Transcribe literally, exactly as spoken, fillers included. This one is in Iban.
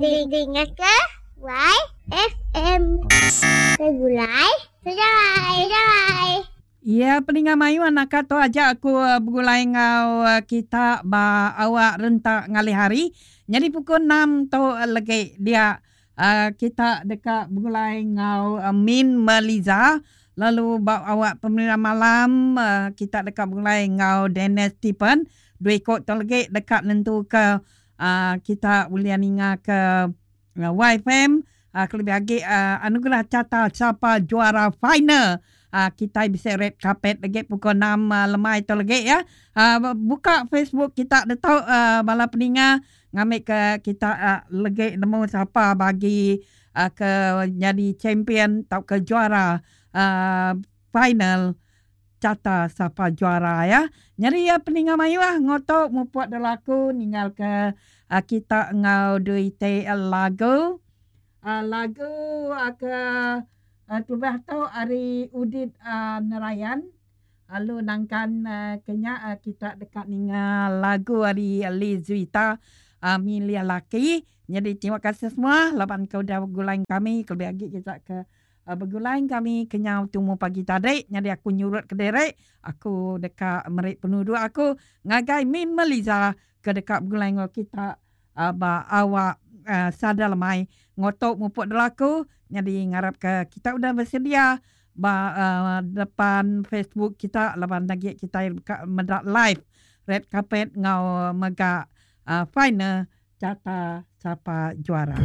Dingaka Y F M Segulai Sejalai Sejalai. Ya, peninga mayuh, anak tu aja aku uh, begulai ngau uh, kita ba awak rentak ngalih hari. Jadi pukul enam tu uh, lagi dia uh, kita dekat begulai ngau uh, Min Meliza. Lalu ba awak pemerintah malam uh, kita dekat begulai ngau Dennis Stephen. Dua ikut tu lagi dekat nentu ke uh, kita boleh ninga ke uh, Y F M uh, lebih lagi uh, anugerah Carta Sapa Juara final. Uh, kita bisa red carpet lagi pukul enam uh, lemai tu lagi ya. Uh, buka Facebook kita dah tahu uh, bala peninga ngambil ke kita uh, lagi nemu siapa bagi uh, ke jadi champion atau ke juara uh, final Carta Sapa Juara ya. Jadi ya, peninga mayu ah ngotok mupuk delaku ninggal ke uh, kita ngau duit lagu. Uh, lagu uh, ke uh, tubah tu hari Udit uh, Narayan. Lalu nangkan uh, kenya uh, kita dekat ninga lagu hari Lizuita uh, Milih Laki. Jadi terima kasih semua laban kau dah bergulai kami, kelebih lagi kita ke uh, bergulai kami kenyau tumu pagi tadi. Jadi aku nyurut ke derek, aku dekat merik penuduh aku ngagai Min Meliza ke dekat bergulai ngau kita uh, ba awak uh, sadar lemai ngotok mupuk delaku. Jadi ngarap ke kita udah bersedia ba uh, depan Facebook kita laban lagi kita buka medak live red carpet ngau mega uh, final Carta Sapa Juara.